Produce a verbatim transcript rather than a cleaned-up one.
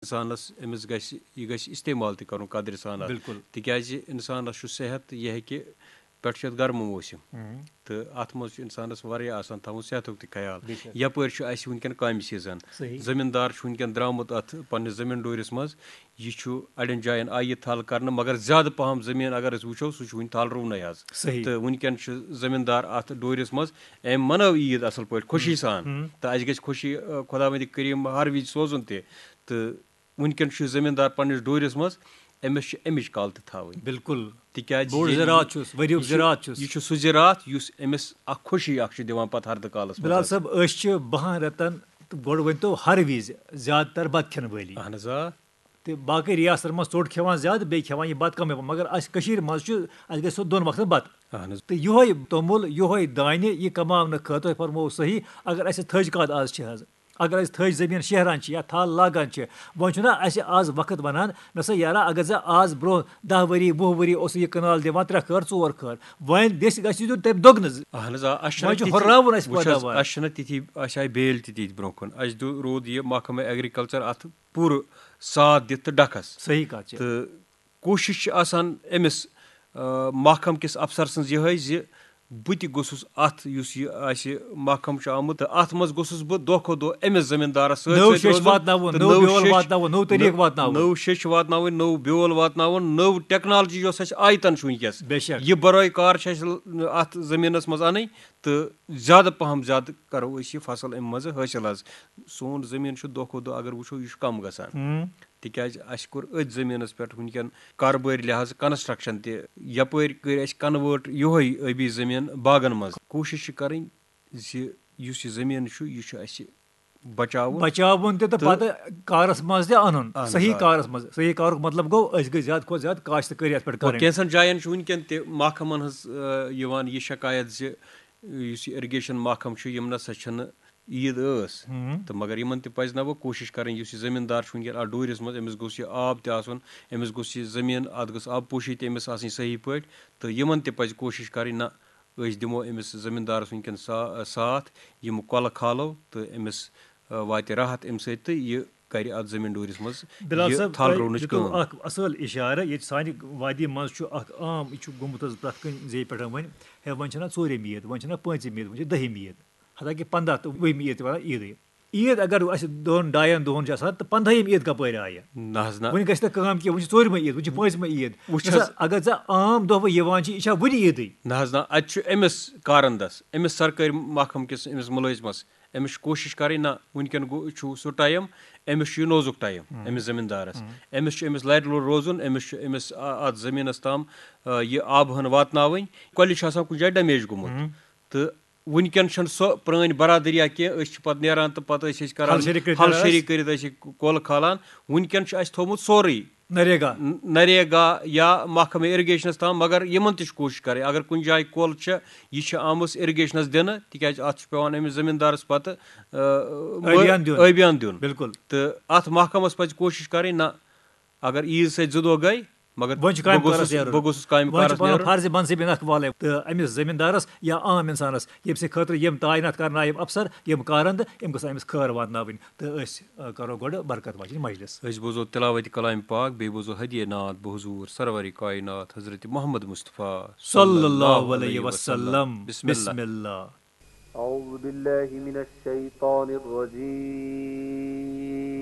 اِنسانَس، أمِس گژھِ، یہِ گژھِ استعمال تہِ کَرُن قدرِ سان اَتھ۔ بِلکُل۔ تِکیٛازِ اِنسانَس چھُ صحت، یہِ ہیٚکہِ، پٮ۪ٹھٕ چھُ اَتھ گرمہٕ موسم۔ ہُم۔ تہٕ اَتھ منٛز چھُ اِنسانَس واریاہ آسان تھاوُن صحتُک تہِ خیال۔ بے شک۔ یَپٲرۍ چھُ اَسہِ وٕنکٮ۪ن کامہِ سیٖزن۔ صحیح۔ زٔمیٖندار چھُ وٕنکٮ۪ن درٛامُت اَتھ پنٛنِس زٔمیٖن ڈوٗرِس منٛز۔ یہِ چھُ اَڑٮ۪ن جایَن آیہِ یہِ تھل کَرنہٕ، مگر زیادٕ پَہَم زٔمیٖن اگر أسۍ وٕچھو، سُہ چھُ وٕنہِ تھل رُونَے حظ۔ صحیح۔ تہٕ وٕنکٮ۪ن چھُ زٔمیٖندار اَتھ ڈوٗرِس منٛز، أمۍ مَنٲو عیٖد اَصٕل پٲٹھۍ، خوشی سان۔ ہُم۔ تہٕ اَسہِ گژھِ خوشی، آ، خۄداوندِ کریٖم ہر وِزِ سوزُن تہِ۔ تہٕ وٕنکٮ۪ن چھُ زٔمیٖندار پنٛنِس ڈوٗرِس منٛز، أمِس چھِ اَمِچ کَل تہِ تھاوٕنۍ۔ بِلکُل۔ تِکیٛازِ بوٚڑ ییٚلہِ زِراعت چھُس، ؤریُک یہِ چھُ، زِراعت چھُس۔ یہِ چھُ سُہ زِراعت یُس أمِس اَکھ خوشی اَکھ چھُ دِوان پَتہٕ ہردٕ کالَس منٛز بِلال حظ۔ صٲب، أسۍ چھِ بَہَن رٮ۪تَن، تہٕ گۄڈٕ ؤنۍتو ہر وِزِ زیادٕ تر بَتہٕ کھٮ۪ن وٲلی۔ اَہَن حظ، آ۔ تہٕ باقٕے ریاستَن منٛز ژوٚٹ کھٮ۪وان زیادٕ، بیٚیہِ کھٮ۪وان یہِ بَتہٕ کَمٕے پَہَم، مگر اَسہِ کٔشیٖرِ منٛز چھُ، اَسہِ گژھِ سُہ دۄن وقتَن بَتہٕ۔ اَہَن حظ۔ تہٕ یِہوٚے توٚمُل، یِہوٚے دانہِ، یہِ کماونہٕ خٲطرٕ فرموو صحیح، اگر اَسہِ تھٔج کَتھ آز چھِ حظ، اگر أسۍ تھٔج زٔمیٖن شیہران چھِ یا تھل لاگان چھِ، وۄنۍ چھُنہ اَسہِ آز وقت وَنان، نہ سا یارا، اگر ژےٚ آز برونٛہہ دَہ ؤری، وُہ ؤری اوسُکھ یہِ کنال دِوان ترٛےٚ کھٲر، ژور کھٲر، وۄنۍ دِژ، گژھِ دیُن تَمہِ دۄگنہٕ۔ اَہن حظ، آ، اَسہِ چھُنہٕ وۄنۍ چھُ تِتھی، ہُراوُن اَسہِ وٕچھ حظ، پیداوار۔ اَسہِ چھِنہٕ تِتھی، اَسہِ آیہِ بیلۍ تہِ تِتھۍ برونٛہہ کُن۔ اَسہِ دیُت، روٗد یہِ محکمہٕ ایگریکلچر اَتھ پوٗرٕ ساتھ دِتھ تہٕ ڈَکھَس۔ صحیح کَتھ چھِ۔ تہٕ کوٗشِش چھِ آسان أمِس، آ، محکمہٕ کِس افسر سٕنٛز یِہوٚے زِ بہٕ تہِ گوٚژھُس اَتھ، یُس یہِ آسہِ محکمہٕ چھُ آمُت، تہٕ اَتھ منٛز گوٚژھُس بہٕ دۄہ کھۄتہٕ دۄہ أمِس زٔمیٖندارَس سۭتۍ نٔو سۭتۍ شیٚچھ روزُن واتناوُن، تہٕ نٔو نٔو بیول شیٚچھ، واتناوُن، نٔو طریٖقہٕ نٔو، واتناوُن۔ نٔو شیٚچھ واتناوٕنۍ، نٔو بیول واتناوُن، نٔو ٹیکنالوجی یۄس اَسہِ آیتَن چھُ وٕنکیٚس، بے شک۔ یہِ بَرٲے کار چھِ اَسہِ ل-، اَتھ زٔمیٖنَس منٛز اَنٕنۍ، تہٕ زیادٕ پَہَم زیادٕ کَرو أسۍ یہِ فصل اَمہِ منٛزٕ حٲصِل حظ۔ سون زٔمیٖن چھُ دۄہ کھۄتہٕ دۄہ، اگر وٕچھو، یہِ چھُ کَم گژھان۔ ہُم۔ تِکیٛازِ اَسہِ کوٚر أتھۍ زٔمیٖنَس پٮ۪ٹھ وٕنکٮ۪ن کاربٲرۍ لحاظ کنسٹرکشن تہِ، یپٲرۍ کٔرۍ اَسہِ convert یِہوٚے ٲبی زٔمیٖن باغن منٛز۔ کوٗشِش چھِ کَرٕنۍ زِ یُس یہِ زٔمیٖن چھُ، یہِ چھُ اَسہِ بچاوُن۔ بچاوُن تہِ تہٕ تہٕ پتہٕ کارس منٛز تہِ اَنُن۔ اَہن حظ، صحیح آ۔ کارس منٛز، صحیح کارُک مطلب گوٚو، أسۍ گٔژھۍ زیادٕ کھۄتہٕ زیادٕ کاشتکٲری اَتھ پٮ۪ٹھ وۄنۍ کَرٕنۍ۔ کینٛژن جاین چھُ وٕنکٮ۪ن تہِ محکمن ہٕنٛز، آ، یِوان یہِ شکایت زِ یُس یہِ irrigation محکمہٕ چھُ، یِم نہ سا چھِنہٕ عیٖد ٲس۔ ہُم۔ تہٕ مگر یِمن تہِ پَزِ نہ وۄنۍ کوٗشِش کَرٕنۍ، یُس یہِ زٔمیٖندار چھُ وٕنکیٚن اَتھ ڈوٗرِس منٛز، أمِس گوٚژھ یہِ آب تہِ آسُن، أمِس گوٚژھ یہِ زٔمیٖن، اَتھ گٔژھ آبہٕ پوشی تہِ أمِس آسٕنۍ صحیح پٲٹھۍ۔ تہٕ یِمن تہِ پَزِ کوٗشِش کَرٕنۍ، نہ، أسۍ دِمو أمِس زٔمیٖندارَس وٕنکیٚن سا-، ساتھ، یِم کۄلہٕ کھالو تہٕ أمِس، آ، واتہِ راحت اَمہِ سۭتۍ تہٕ یہِ کَرِ اَتھ زٔمیٖن ڈوٗرِس منٛز بِلال یہِ صٲب، تھل تۄہہِ رُونٕچ دِتوٕ کٲم۔ اَکھ اَصٕل اِشارٕ، ییٚتہِ سانہِ وادی منٛز چھُ اَکھ عام، یہِ چھُ گوٚمُت حظ پرٛٮ۪تھ کُنہِ زیٚیہِ پٮ۪ٹھ وۄنۍ، ہے، وۄنۍ چھَنہ ژوٗرِم عیٖد، وۄنۍ چھَنہ پٲنٛژِم عیٖد، وۄنۍ چھِ دٔہِم عیٖد۔ حتیٰ کہِ پنٛداہ تہٕ وُہِم عیٖد تہِ وَنان عیٖدٕے۔ عیٖد اگر اَسہِ دۄن ڈاین دۄہَن چھِ آسان، تہٕ پنٛدہٲیِم عیٖد کَپٲرۍ آیہِ؟ نہ حظ نہ۔ وٕنہِ گژھِ نہٕ کٲم کینٛہہ، وٕنہِ چھِ ژوٗرِمٕے عیٖد، وٕنہِ چھِ پٲنٛژمٕے عیٖد۔ وٕچھ نہ سا، حظ۔ اگر ژےٚ عام دۄہ وۄنۍ یِوان چھِ، یہِ چھا وٕنہِ عیٖدٕے؟ نہ حظ نہ، اَتہِ چھُ أمِس کارندَس، أمِس سرکٲرۍ محکمہٕ کِس، أمِس مُلٲزمَس، أمِس چھِ کوٗشِش کَرٕنۍ، نہ، وٕنکٮ۪ن گوٚو، چھُ سُہ ٹایم، أمِس چھُ یہِ نوزُک ٹایم، ہُم۔ أمِس زٔمیٖندارَس۔ ہُم۔ أمِس چھُ أمِس لَرِ لوٚر روزُن، أمِس چھُ أمِس آ-، اَتھ زٔمیٖنَس تام، آ، یہِ آبہٕ ہن واتناوٕنۍ۔ کۄلہِ چھُ آسان کُنہِ جایہِ damage گوٚمُت۔ ہُم۔ تہٕ وٕنکٮ۪ن چھَنہٕ سۄ پرٛٲنۍ برادٔریا کینٛہہ، أسۍ چھِ پَتہٕ نیران تہٕ پَتہٕ ٲسۍ أسۍ کَران ہَل شیٚری کٔرِتھ ہَل نیران شیٚری ٲسۍ۔ کٔرِتھ ٲسۍ کۄل کھالان۔ وٕنکٮ۪ن چھُ اَسہِ تھوٚومُت سورُے۔ نریگا۔ ن-، نریگا یا محکمہ irrigation-س تام، مگر یِمَن تہِ چھِ کوٗشِش کَرٕنۍ۔ اگر کُنہِ جایہِ کۄل چھےٚ، یہِ چھِ آمٕژ irrigation-س دِنہٕ، تِکیٛازِ اَتھ چھُ پٮ۪وان أمِس زٔمیٖندارَس پَتہٕ، آ، مٔ-، ٲبیان دیُن۔ ٲبیان دیُن۔ بِلکُل۔ تہٕ اَتھ محکمَس پَزِ کوٗشِش کَرٕنۍ، نہ، اگر عیٖد سۭتۍ زٕ دۄہ گٔے، مگر وۄنۍ چھُ کامہِ بہٕ گوٚژھُس، کارَس نیرُن۔ بہٕ گوٚژھُس کامہِ وۄنۍ چھُ کارَس پَنُن نیرُن۔ فرضِ منصبِ نقل والے تہٕ أمِس زٔمیٖندارَس یا عام اِنسانَس، ییٚمہِ سٕنٛدِ خٲطرٕ یِم تعینات کَرنہٕ آیہِ یِم افسر، یِم کارَن تہٕ یِم گٔژھ أمِس خٲر واتناوٕنۍ۔ تہٕ أسۍ، آ، کَرو گۄڈٕ برکت واجِنۍ مجلس۔ أسۍ بوزو تلاوتِ کلامِ پاک، بیٚیہِ بوزو ہدیہ نعت بحضور سرورِ کائنات حضرت محمد مصطفیٰ صلی اللہ علیہ وسلم۔ بسم اللہ۔ بسم اللہ۔ أعوذ بالله من الشيطان الرجيم.